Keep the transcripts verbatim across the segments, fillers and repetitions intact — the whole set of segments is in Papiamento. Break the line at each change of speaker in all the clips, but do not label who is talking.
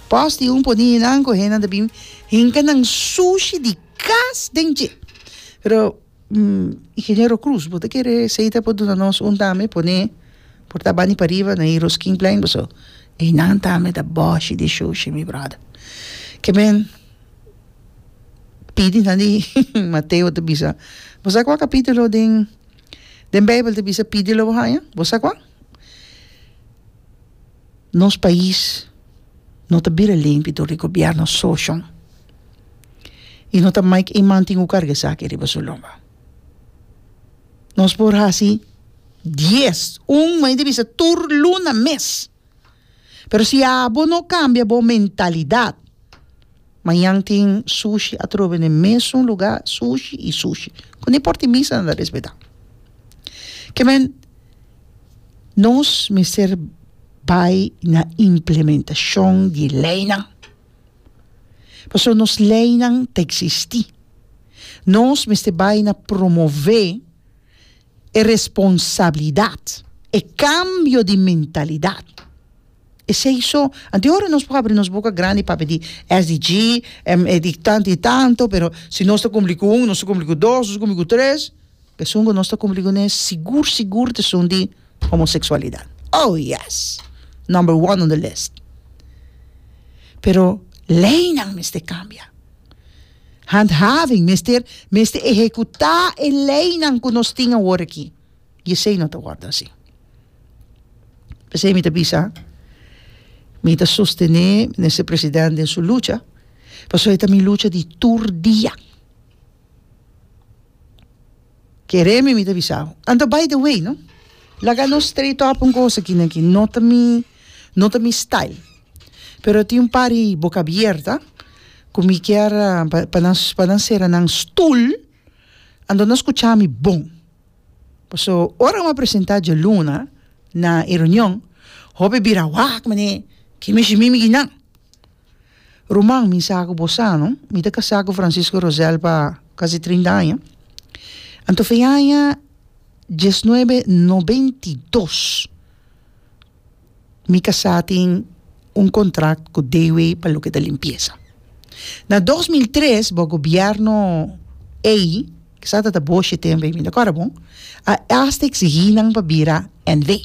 Pòst un poni nan ku hendenan ta bin hinka nan sushi di kas den dje. Pero mm, ingeniero Cruz, bo ta kere esei ta por duna nos un tambe pone por ta bani pariba na e Roskinplein, so. Einan tambe ta bòshi di sushi, mi brother. Ke men pidi nan di Mateo ta bisa. Bo sa kua kapítulo den den Beibel ta bisa pidi lo bo haña? Bo sa kua? Nos pais no ta bira limpi dor di gobièrnu so shon. I no ta Mike Eman tin ku karga esaki riba su lomba. Nos por hasi dies, un mi ta bisa tur luna mes. Pero si abo no kambia bo mentalidat, mañan tin sushi atrobe den mesun lugá, sushi i sushi. Ku ni porta misa nan ta respetá. Ke men nos mester bai na implementashon di leinan. Pasobra nos leinan ta eksistí. Nos mester bai na promové e responsabilidat, e kambio di mentalidat. Esei so, anto ora nos por habri nos boka grandi papia di S D G, em, eh, di tanto i tanto, pero si nos ta kumpli ku un, nos ta kumpli ku dos, nos ta kumpli ku tres, esun ku nos ta kumpli kuné sigur sigur ta esun di homoseksualidat. Oh yes, number one on the list. Pero leinan mester kambia. Handhaving, mester, mester ehekutá e leinan ku nos tin awor aki. I esei no ta wòrdu asina. P'esei mi ta bisa, mi ta sostené minister presidente den su lucha, pasobra e ta mi lucha di tur dia. Kere mi, mi ta bisa. Anto, by the way, no? Laga nos straight up un kos aki aki, no ta mi, no ta mi style. Pero tin un par di boka abierto, ku mi ke pa pa nan pa nan sera nan stul, anto nan skucha mi bon. Paso, ora m'a presentá djaluna na e reunion, hopi bira wak mane, ki mi mi mi nan. Ruman, mi sa ku bo sa, no? Mi ta kasá ku Francisco Rosel pa kasi trinta aña. Anto fe aña diesnuebe nobenta i dos. Mi kasá tin un kontrakt ku D W pa loke ta limpiesa. Na dos mil tres, e gobièrnu ei, ku sa ta boxe tempu, mi ta bon, a hasta eksigí nan pa bira N V.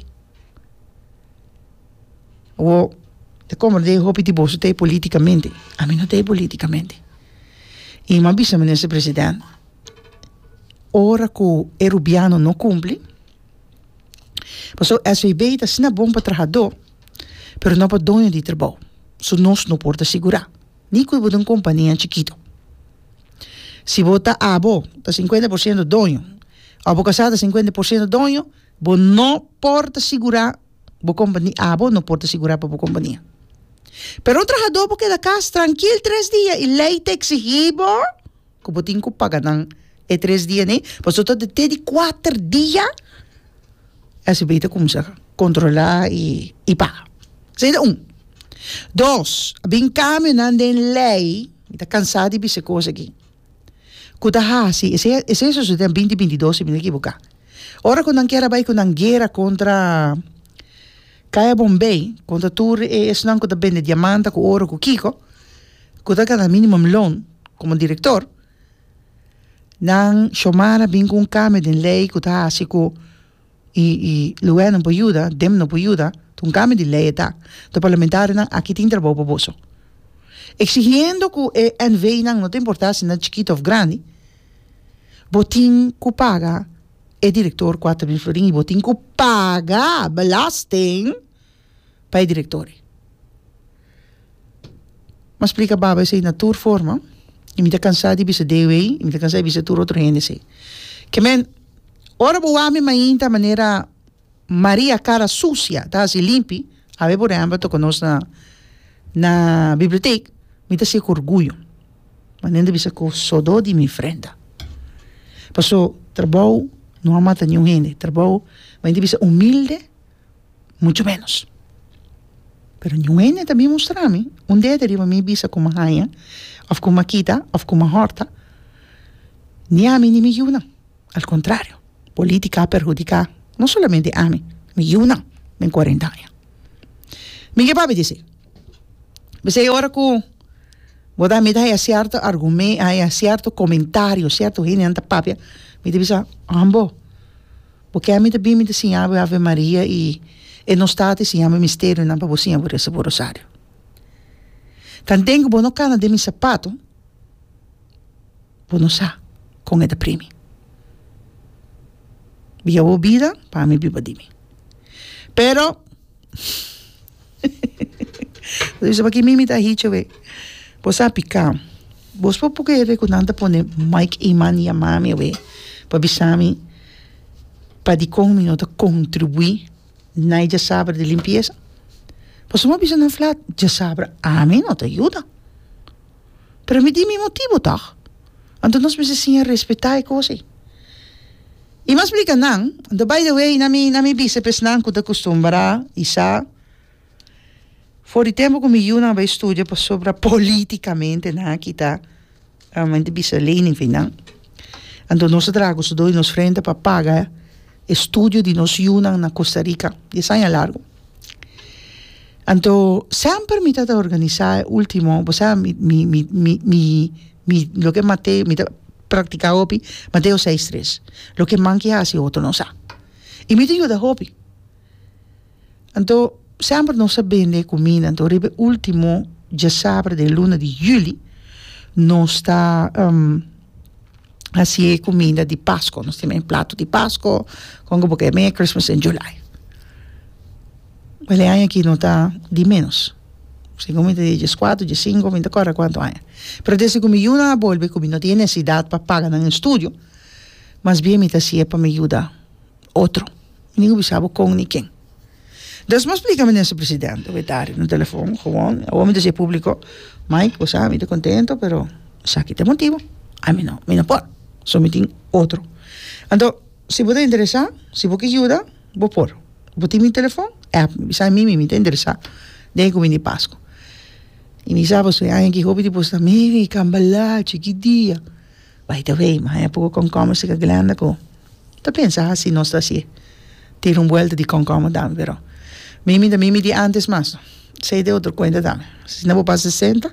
O de como de hopi di boso te polítikamente. Ami no te polítikamente. I m'a bisa minister presidente, ora ku e rubiano no kumpli, paso S V B ta asina bon pa trahadó, pero no pa doño di trabou. So nos no por ta sigurá. Ni ku un kompania chikitu. Si bo ta abo, ta sinkuenta porshento doño, òf bo kasá ta sinkuenta porshento doño, bo no por ta sigurá bo kompania, abo no por ta sigurá pa bo kompania. Pero un trahadó por keda kas trankil tres dia i lei ta eksigí bo ku bo tin ku paga nan e tres dia, ne? Paso te te di kuater dia S V B ta kuminsá kontrolá i i paga. Esei ta un. Dos, bin kambionan den lei, mi ta kansá di bisa kos aki. Ku ta hasi, esei esei sosodé den dos mil bintidos, si mi no ekivoká. Ora ku nan kier a bai ku nan guera kontra Kaya Bombay, kontra tur esnan ku ta bende diamante ku oro ku kiko, ku ta gana minimum loan komo direktor, nan Xiomara bin ku un kambio den lei ku ta hasi ku i i lugá no por yuda, dem no por yuda, un kambio di lei ta. E parlamentarionan aki tin trabou pa boso. Exigiendo ku e N V nan, no ta importá si nan chikitu òf grandi, bo tin ku paga e direktor kuater mil florin i bo tin ku paga belasting pa e direktor. M'a splika baba esei na tur forma i mi ta kansá di bisa D W i mi ta kansá di bisa tur otro hende esei. Ke men, ora bo wak mi mainta manera Maria cara sucia, ta hasi limpi, awe por ehèmpel toka nos na na bibliotek, mi ta hasié ku orguyo. Manera di bisa ku sodó di mi frenta. Paso trabou no a mata niun hende, trabou, manera di bisa humilde, mucho menos. Pero niun hende tambe mustra mi un dede riba mi bisa ku m'a haña, òf ku m'a kita, òf ku m'a hòrta. Ni ami ni mi yunan. Al kontrario, polítika a perhudiká no solamente ami, mi yunan, den kuarenta aña. Mi ke papia di esei. P'esei ora ku bo ta mi ta haya sierto argume haya sierto komentario, sierto hendenan ta papia, mi ta bisa, Ambo, bo ke mi ta bin mi ta siña bo e Ave Maria i e nos Tata i siña bo e misterionan pa bo siña bo resa bo rosario. Tanten ku bo no kana den mi sapato, bo no sa kon e ta primi. Bia bo bida pa mi biba di mi. Pero, bo bisa paki mi mi ta hichi awe? Bo sa piká. Bos por kere ku nan ta pone Mike Eman yama mi awe pa bisa mi pa dikon mi no ta kontribuí na e djasabra di limpiesa? Pasobra mi a bisa nan flat, djasabra ami no ta yuda. Pero mi di mi motibu tòg. Anto nos mester siña respetá e kos ei. I mi a splika nan, anto by the way na mi na mi bisa pesnan ku ta kustumbrá i sa for di tempu ku mi yunan a bai studia pasobra polítikamente nan a kita mi ta bisa lening fi nan. Anto nos a traha ku su dos di nos frente pa paga e studio di nos yunan na Costa Rica dies aña largu. Anto semper mi ta ta organisá e último, bo sa mi mi mi mi mi mi loke Mateo mi ta praktiká hopi Mateo seis tres, loke man ke hasi otro no sa. I mi ta yuda hopi. Anto semper nos a bende kuminda, anto riba e último djasabra den luna di juli nos ta hasi e kuminda di Pasko, nos tin e plato di Pasko, kon ku bo ke mei Christmas in July. Wel e aña aki no ta di ménos, segun mi ta di dieskuater, diesinku, mi ta kòrda kuantu aña. Pero desde ku mi yunan a bolbe ku mi no tin e nesesidat pa paga nan estudio, mas bien mi ta hasié pa mi yuda otro. Mi no bisa bo kon ni ken. Des mi a splika minister presidente Wetari na telefon gewoon, awor mi ta hasié públiko, Mike, bo sa mi ta kontento pero esaki ta e motibu, ami no, mi no por, so mi tin otro. Anto si bo ta interesá, si bo ke yuda, bo por. Bo tin mi telefon? App mi, bisa mi, mi ta interesá den e kuminda di Pasku. I mi sa pasobra e aña aki hopi di bo sa, Mary, kambalachi, ki dia? By the way, mi haña poko kònkòmber serka Glenda ku ta pensa hasi nos ta hasié. Tira un buelta di kònkòmber tambe, pero Mimi ta Mimi di antes mas no. Esei ta e otro kuenta tambe. Si no bo pasa sesenta,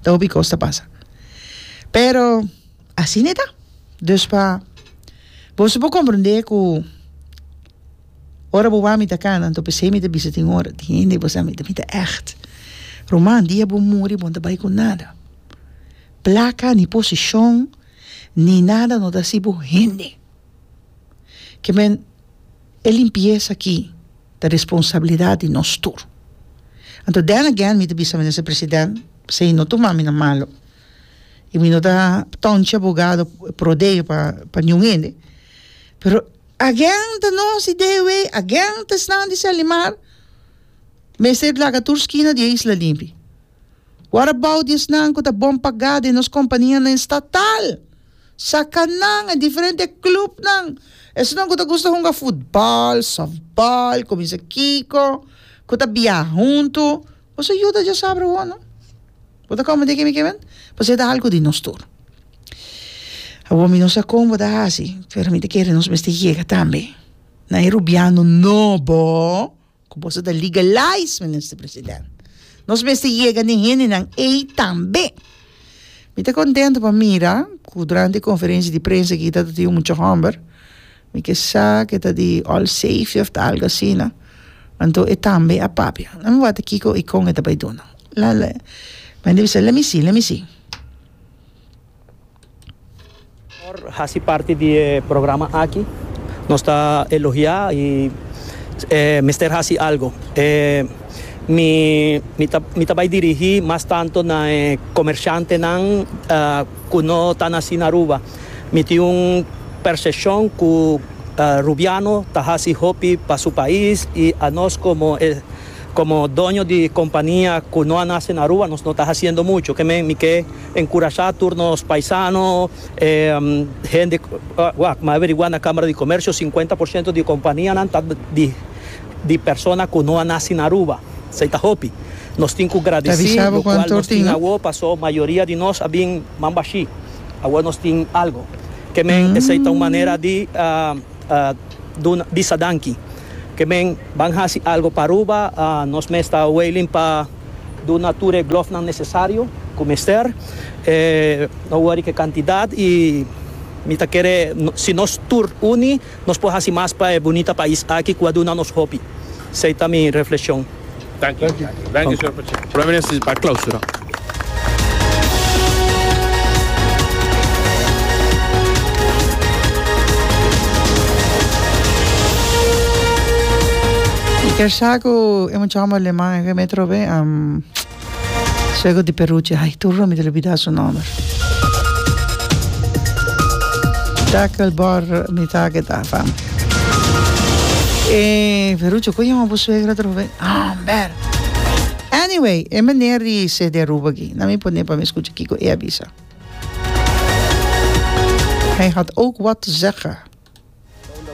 ta hopi kos ta pasa. Pero asina e ta. Dus pa boso por komprendé ku ora bo wak mi ta kana, anto p'esei mi ta bisa tin ora, tin hende bo sa mi ta mi ta ègt. Ruman, dia bo muri bo no ta bai ku nada. Plaka, ni posishon, ni nada no ta hasi bo hende. Ke men e limpiesa aki ta responsabilidat di nos tur. Anto then again mi ta bisa Minister President, p'esei no tuma mi na malo i mi no ta tonchi abogado pro deo pa pa niun hende, pero again ta nos di D W, again ta esnan di Selimar mester laga tur skina di e isla limpi. What about di esnan ku ta bon pagá den nos kompanianan estatal? Saka nan e diferente klupnan. Esnan ku ta gusta hunga futbòl, sòftbòl, kuminsa kiko, ku ta biaha huntu. Boso yuda djasabra awor, no? Bo ta kòmende ke mi ke men? Pasobra e ta algu di nos tur. Awor mi no sa kon bo ta hasi, pero mi ta kere nos mester yega tambe na e rubiano nobo. Ku boso ta legalize, Minister President. Nos mester yega n'e hendenan ei tambe. Mi ta kontento pa mira ku durante e konferensia di prensa aki ta tin un mucha hòmber, mi ke sa ke ta di All Safety òf ta algu asina, anto e tambe a papia. Nan mi wak ta kiko i kon e ta bai duna. La la mi a bisa, let me see, let me see.
Por hasi parti di e programa aki nos ta elogia y mester hasi algo. Mi mi ta mi ta bay dirigi mas tanto na e comerciantenan cu no ta naci na Aruba. Mi tin un percepcion cu Rubiano ta hasi hopi pa su pais y anos como e Komo doño di kompania ku no a nase na Aruba nos no ta hasiendo mucho. Ke men mi ke enkurashá tur nos paisano, hende wak, mi a averiguá na Kámara di Komersio sinkuenta por siento di kompanianan ta di di persona ku no a nase na Aruba. Esei ta hopi. Nos tin ku
Ta
gradisí
bisa bo
lokual
kuantu
nos tin
tin, no?
awo paso mayoria di nos a bin man bashí. Awo nos tin algo. Ke men esei ta un manera di duna bisa danki. Ke men ban hasi algo pa Aruba, nos mes ta wailing pa Duna tur e glovenan necesario cu mester, eh, no worry cu cantidad y mi ta kere si nos tur uni, nos por haci mas pa e bunita pais aki cu a duna nos hopi. Esey ta mi reflexion.
Thank you. Thank you, señor Pacheco. Prome Minister pa clausura.
Mi kier sa cu e mucha homber aleman e metro be um, suego di Peruche. Ay, tur mi ta lubida su nomber. Takelbor mi ta ke ta fam. Eh, Peruche, con yama bo suegra trobe? Amber. Anyway, e meneer di C D Aruba aki. Na mi pone pa mi scucha kico e a bisa. Hij had ook wat te zeggen.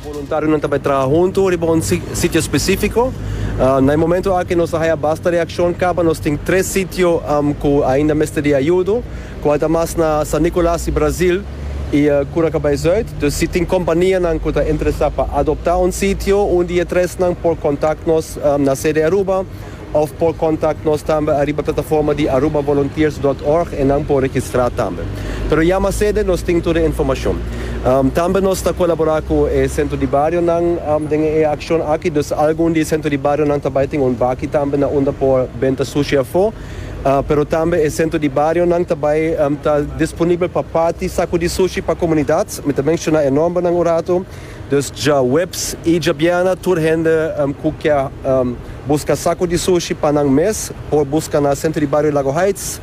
Voluntarionan tambe traha hunto riba un sitio specifico. Uh, na momento aki nos a haya basta reaccion caba, nos tin tres sitio um, cu ainda mester di ayudo, cu mas na San Nicolas y Brasil y uh, Cura Cabay Zuid. Dus si tin companianan cu ta interesa pa adopta un sitio, un di e tresnan por contact nos um, na C D Aruba of por contact nos tambe ariba plataforma di arubavolunteers punt org y nan por registra tambe. Pero yama C D, nos tin tur e informacion. Um, tambe nos ta colabora cu e centro di barionan um, den e accion aki, dus algun di centro di barionan tambe tin un baki tambe na unda por benta sushi afo. Uh, pero tambe e centro di barionan tambe um, ta disponibel pa parti saco di sushi pa comunidad. Mi ta menciona e nombernan un rato. Dus diahuebs y diabierna tur hende um, cu kier um, busca saco di sushi pa nan mes, por busca na centro di bario Lago Heights,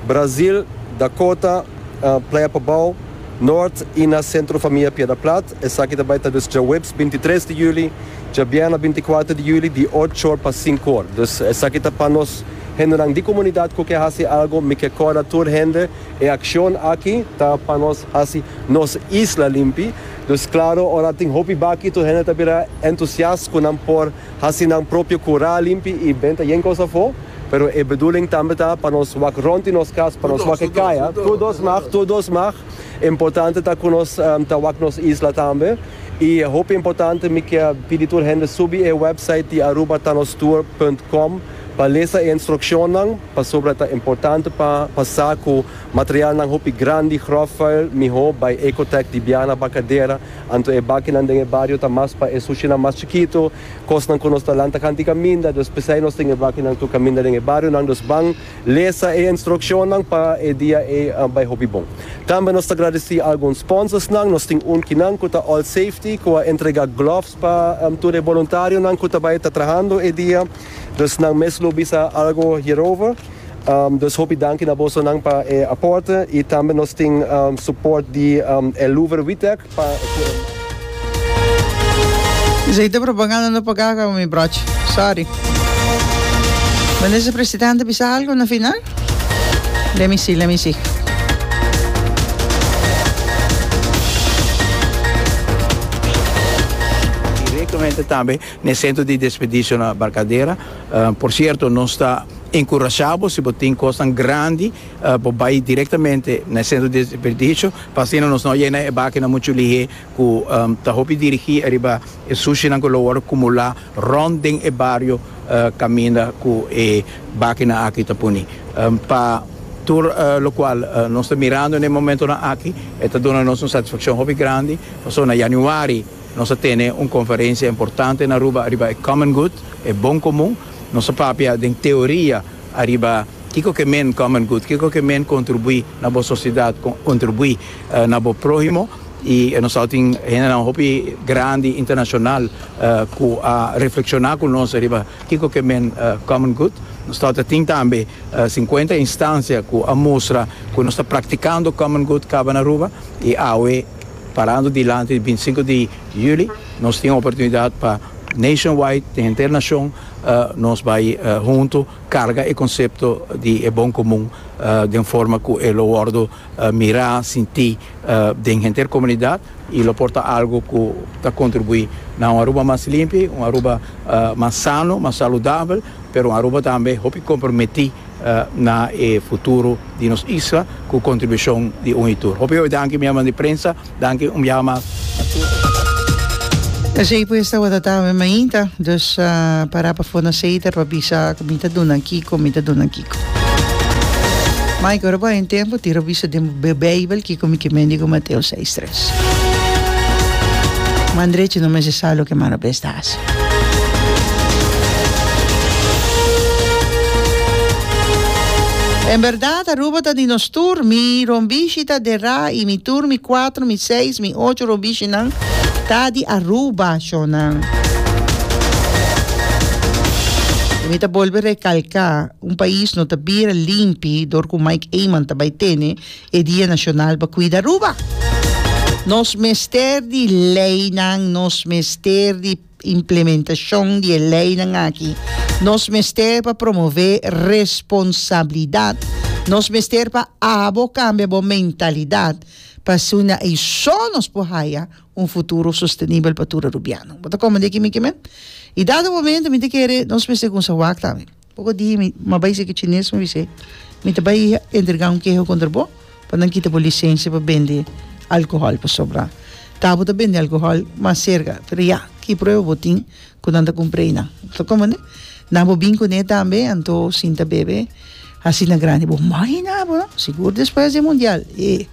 Brasil, Dakota, uh, Playa Pabao, Noord y na Centro Famia Piedra Plat. Esaki tambe ta dus diahuebs bintitres di juli, diabierna binticuater di juli, di ocho or pa cinco or. Dus esaki ta pa nos hendenan di comunidad cu kier haci algo, mi kier corda tur hende, e accion aki ta pa nos haci nos isla limpi. Dus claro, ora tin hopi baki, tur hende ta bira entusiasta cu nan por haci nan propio cura limpi y benta yen cos afo. Pero e bedoeling tambe ta pa nos wak rond di nos cas, pa nos wak caya. Tur dos mag, tur dos mag. Importante ta cu nos um, ta wak nos isla tambe. Y hopi importante, mi kier pidi tur hende subi e website di arubatanostour punt com pa lesa e instruccionnan, pasobra ta importante pa pasa cu materialnan hopi grandi, grofvuil, miho bay Ecotech di Biana Barcadera, anto e bakinan den e bario ta mas pa e sushinan mas chikito, cosnan cu nos ta lanta cant'i caminda, dus pesey nos tin e bakinan tur caminda den e barionan, dus ban lesa e instruccionnan pa e dia e uh, bay hopi bon. Tambe nos ta agradeci algun sponsorsnan, nos tin un kinan cu ta All Safety, cu a entrega gloves pa um, tur e voluntarionan cu ta bay ta trahando e dia, dus nan mes lo bisa algo hierover. Um, dus hopi danki na bosonan pa e aporte y tambe nos tin um, support di um, Eluver Witek pa
Esey ta propaganda no paga, mi brochi. Sorry. Minister Presidente bisa algo na final? Let me see, let me see.
Directamente tambe na centro di desperdicio na Barcadera. Uh, por cierto, nos ta encurashando, si bo tin cos grandi, uh, bay directamente na centro di desperdicio, pa asina nos no yena e bakinan mucho lihe, cu um, ta hopi dirigi ariba e sushinan cu lo acumula rond den e bario uh, caminda cu e bakinan aki ta poni. Um, pa tur uh, locual uh, nos ta mirando na e momentonan aki, ta duna nos un satisfaccion hopi grandi. Paso na januari nos a tene un conferencia importante na Aruba ariba e Common Good, e bon comun. Nos a papia den teoria ariba kico kiermen Common Good, kico kiermen contribui na bo sociedad, contribui uh, na bo prohimo y nos tin un hopi grandi internacional uh, cu a reflexiona cu nos ariba kico kiermen uh, Common Good. Nos tin tambe uh, cincuenta instancia cu a mustra cu nos ta practicando Common Good caba na Aruba y awe parando dilanti di binticinco di juli, nos tin oportunidad pa nationwide, henter nacion, uh, nos bay uh, hunto carga e concepto di e bon comun uh, di forma cu e lo wordo uh, mira, sinti uh, den henter comunidad y lo por ta algo cu ta contribui na un Aruba mas limpi, un Aruba uh, mas sano, mas saludabel, pero un Aruba tambe hopi comprometi uh, na e futuro di nos isla cu contribucion di un y tur. Hopi danki, mi di prensa, danki un biaha mas.
Esey pues tabata ta awe mainta, dus uh, para pafó na Setar pa bisa cu mi ta duna kico, mi ta duna kico. Mike, ora bo tin tempo, tira bisa den Bijbel kico mi kier men cu Mateo seis tres. Man drechi no mester sa loke man robes ta haci. En berdad, Aruba ta di nos tur, mi rombishi ta derá y mi tur, mi cuatro, mi seis, mi ocho rombishinan ta di Aruba, shonan. Y mi ta bolbe recalca, un pais no ta bira limpi dor cu Mike Eman ta bay tene e Dia Nacional pa cuida Aruba. Nos mester di leynan, nos mester di implementacion di e leynan aki. Nos mester pa promove responsabilidad. Nos mester pa abo cambia bo mentalidad. Pa asina ey so nos por haya un futuro sostenibel pa tur Arubiano. Bo ta comprende kico mi kier men? Y dado momento mi ta kere nos mester cuminsa wak tambe. Poco dia mi m'a bay seki chines mi bis'e mi ta bay entrega un keho contra bo pa nan kita bo licencia pa bende alcohol pasobra ta bo ta bende alcohol mas cerca pero ya ki prueba bo tin cu nan ta cumpra einan. Bo ta comprende? Nan bo bin cune tambe anto sinta bebe asina grandi bo imagina bo no sigur despues di mundial e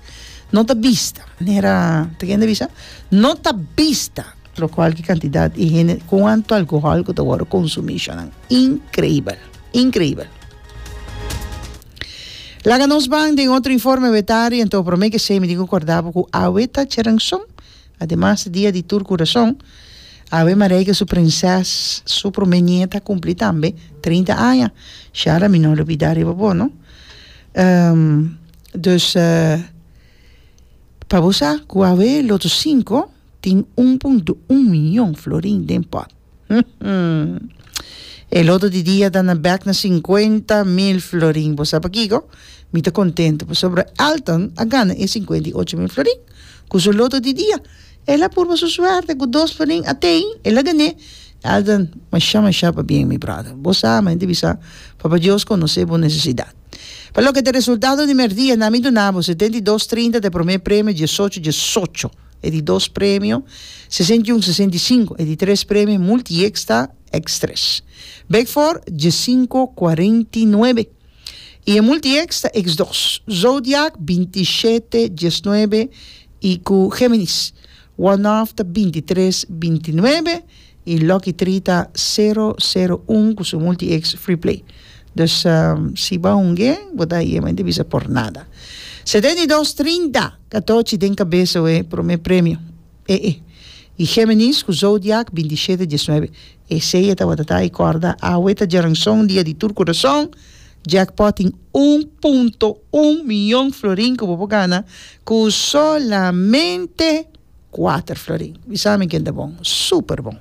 no ta bista manera ta kende bisa no ta bista locual ki cantidad di hende cuanto alcohol cu ta worde consumi shonan increibel increibel. Laga nos ban den otro informe wetari anto prome ke esei mi tin ku korda bo ku awe ta Cheranson ademas dia di tur kurason awe Marijke su prinses su prome nieta kumpli tambe trinta aña Shara mi no lubida riba bo no um, dus uh, pa bo sa ku awe loto sinku tin un punto un miyon florin den pot. E loto di dia ta na bek na sinkuenta mil florin. Bo sa pakiko? Mi ta kontento pasobra Elton a gana e sinkuenta i ocho mil florin ku su loto di dia. El a purba su suerte ku dos florin a tei, el a gan'é. Elton, masha masha pabien mi brother. Bo sa, mi ta bisa, Papa Dios konosé bo nesesidat. Pa loke ta resultado di merdia, na mi duna bo setenta i dos trinta ta e promé premio, diesocho diesocho e di dos premio, sesenta i un sesenta i sinku e di tres premio, multi-X ta X tres. Big Four, diesinco cuarenta i nuebe. I e multi-X ta X dos. Zodiac, binti i shete diesnuebe i ku Géminis. One Off ta binti i tres binti i nuebe i Lucky Three ta sero sero un ku su multi-X Free Play. Dus si bo a hunge, bo ta yema di bisa por nada. Setenta i dos trinta, katochi den kabesa we prome premio. E e. I Géminis ku Zodiac binti i shete diesnuebe. Esei e tabata ta i kòrda awe ta djaranson dia di tur kurason. Jackpot tin un punto un miyon florin ku bo por gana ku solamente kuater florin. Bisa mi ken ta bon. Super bon.